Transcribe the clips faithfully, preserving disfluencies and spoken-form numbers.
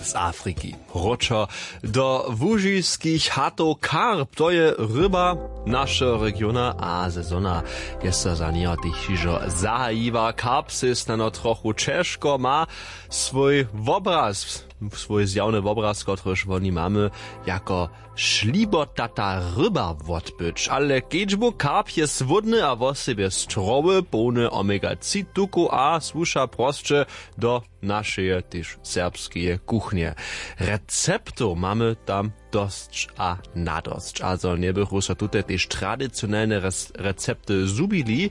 z afriki. Wróćo do łužiskich hatow karp, to je ryba našeho regiona a sezona je so za njeho tež hižo zahajiła. Karp sej snano trochu ćežko ma swój wobraz, swój zjawny wobraz, kotryž woni mamy jako šlibotata ryba wotbyć. Ale kedźbu karp je słódny a wosebje strowy, połny omega tři tukow a słuša prosće do našeje tež serbskeje kuchnje. Receptow mamy tam dosć a nadosć, a zo njebychu so tute tež tradicionelne recepty zhubili,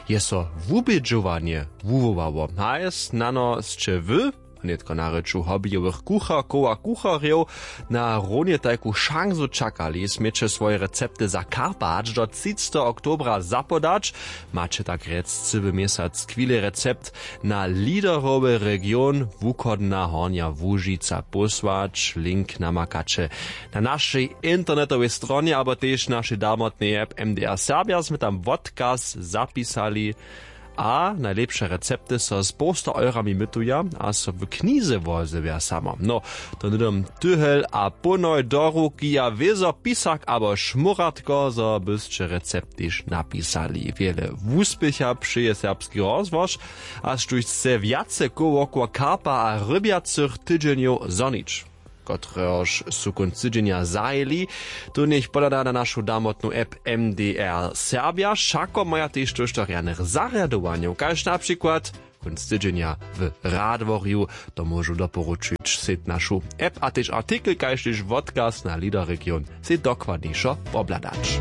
je so wubědźowanje wuwołało. Hajs nano sće wy nětko na rěču hobbyjowych kucharkow a kucharjow na runje tajku šansu čakali, směće swoje recepty za karpa hač do třiceteho oktobra zapodać. Maće tak rjec cyły měsac chwile recept na liderowy region wuchodna hornja łužica pósłać. Link namakaće na našej internetowej stronje abo tež našej damotnej app mdr serbja smy tam wotkaz zapisali. A najlěpše recepty so z połsta eurami mytuja a so w knize wozewja samo no. To hnydom tyhel a pónoj do ruki a wězo pisak abo šmóratko zo bysće recept tež napisali wjele wuspěcha přeje serbski rozłož. A štóž chce wjace kołokowa karpa a rybjacych tydźenjow zhonić, kotrehož su kónc tydźenja zahajili, to njech pohlada na našu damotnu app mdr serbja wšako maja tež tóžto rjanych zarjadowanjow kaž na přikład kónc tydźenja w radworju. To móžu doporučić sej našu app a tež artikel kaž tež wotkaz na liderregion sej dokładnišo wobhladać.